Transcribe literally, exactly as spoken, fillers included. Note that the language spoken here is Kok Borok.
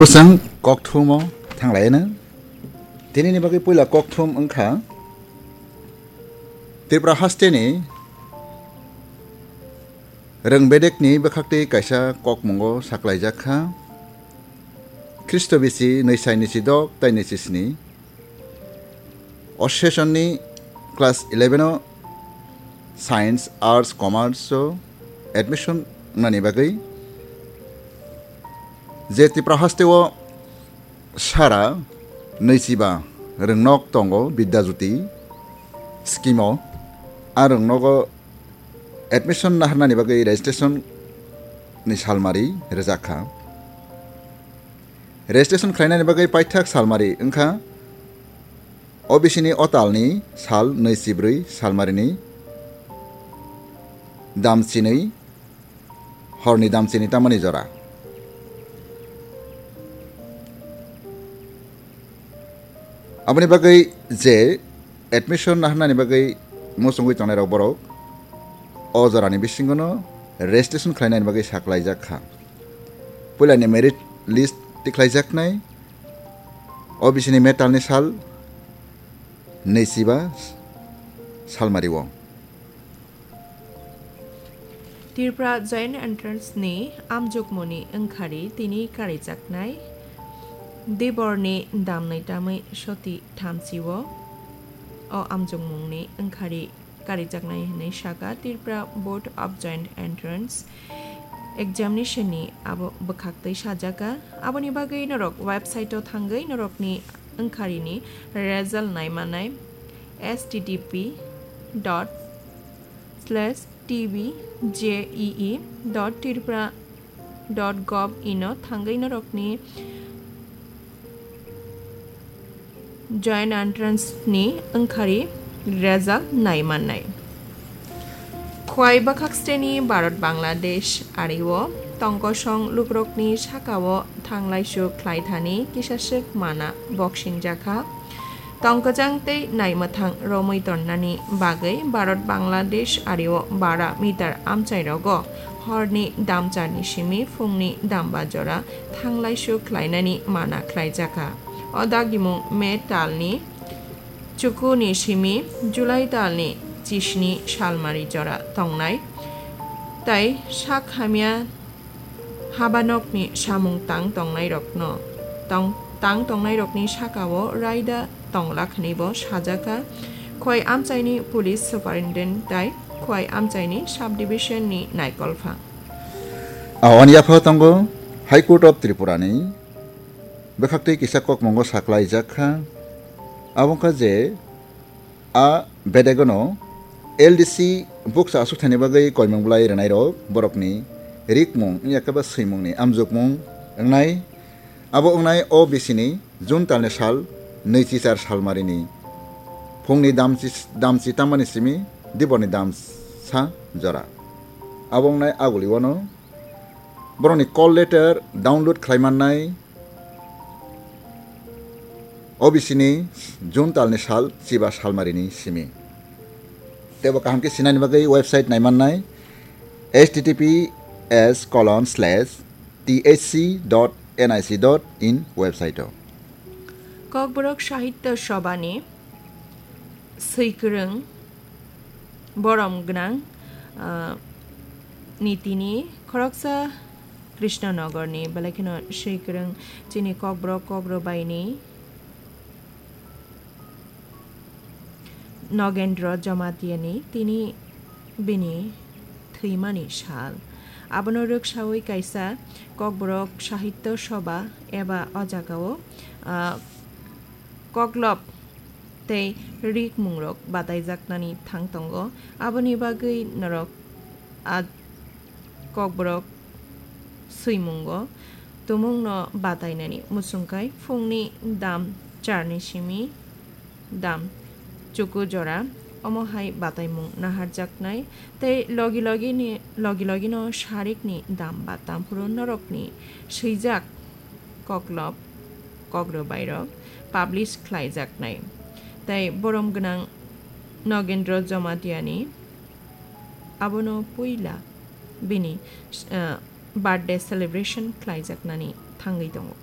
Bwswng kokthumo thanglaino. Tinini bagwi puila kokthum wngkha Tripura hasteni rwng bedekni bwkhaktwi kaisa kokmungo saklaijak kha. Khristo bisi nwi sai nwi si dok tai nwi si sni. O session ni class eleven o science, arts, commerce o admission wngnani bagwi je Tripura haste o sara nwichiba rwngnok tongo Bidya Jyoti scheme o, a rwngnogo admission naharnani bagwi registration ni salmari rwjak kha. Registration khlainani bagwi paithak salmari wngkha O B C ni o talni sal nwi chibrwi salmarini dam chinwi horni dam chini tamani jora. Aboni bagwi je admission naharnani bagwi muchungwi tongnairok borok o jorani bisingono registration khlainani bagwi saklaijak kha. Puilani merit list tikhlaijaknai O B C ni metalni sal nwichiba salmario. Tripura Joint Entrance ni amjokmoni wngkhari tini karijaknai Diborni damnwi tamwi soti thamchi o, o amjokmungni wngkhari karijaknai hwnwi saka Tripura Board of Joint Entrance Examination ni abo bwkhaktwi sajaka. Aboni bagwi norok website o thangwi norokni wngkharini result naimanai H T T P dot slash T B J E E dot tripura dot gov in o thangwi norokni Joint Entrance ni wngkhari result naimannai. Khwai bwkhak steni Bharat Bangladesh ario tongkosong lukrokni sakao thanglaisu khlaithani kisaswk mana boksingjakha. Tongkwchang tei naimwthang romwi tonnani bagwi Bharat Bangladesh ario bara meter amchairogo horni damcharni simi phungni damba jora thanglaisu khlainani mana khlaijakha. O dagimung May talni chukuni simi July talni chisni salmari jora tongnai tai sak hamya habanokni samung tang tongnairokno tong-, tang tongnairokni sakao raida tonglak hwnwibo sajakha Khwai amchaini police superintendent tai Khwai amchaini subdivision ni naikolphang. Awani yaphao tongo High Court of Tripura ni bwkhaktwi kisa kokmungo saklaijak kha. Abo wngkha je a bedegono L D C bukcha aswk thani bagwi koimung bwlai rwnairok borokni rikmung wngya khe ba swimungni amjokmung wngnai. Abo wngnai O B C ni June talni sal nwichi char salmarini phungni damchi, damchi tamani simi diborni damsa jora. Abo wngnai aguli wano borokni call letter download khlai mannai. O B C ni June talni sal chiba salmarini simi. Teibo kaham khe sinani bagwi website naimannai H T T P S colon slash T H C dot N I C dot in website o. Kokborok Sahitya Sabha ni swikwrwng borom gwnang, ah, ni tini khoroksa Krishnanagarni, belai kheno swikwrwng chini Kokborok Kokrwbaini Nogendra Jamatiani tini bini thwimani sal. Abono rwksawi kaisa Kokborok Sahitya Sabha eba o jagao, ah, koklop tei rikmungrok bataijaknani thang tongo. Aboni bagwi norok a kokborok swimungo tumungno batainani muchungkai phungni dam charni simi dam chuku jora omo hai bataimung naharjaknai tei logi logi ni, logi logi no sarikni dam ba tamphuru norokni swijak koklop, kokrwbairok publish khlaijaknai. Tei borom gwnang Nogendra Jamatiani abono puila bini, eh, birthday celebration khlaijaknani thangwi tongo.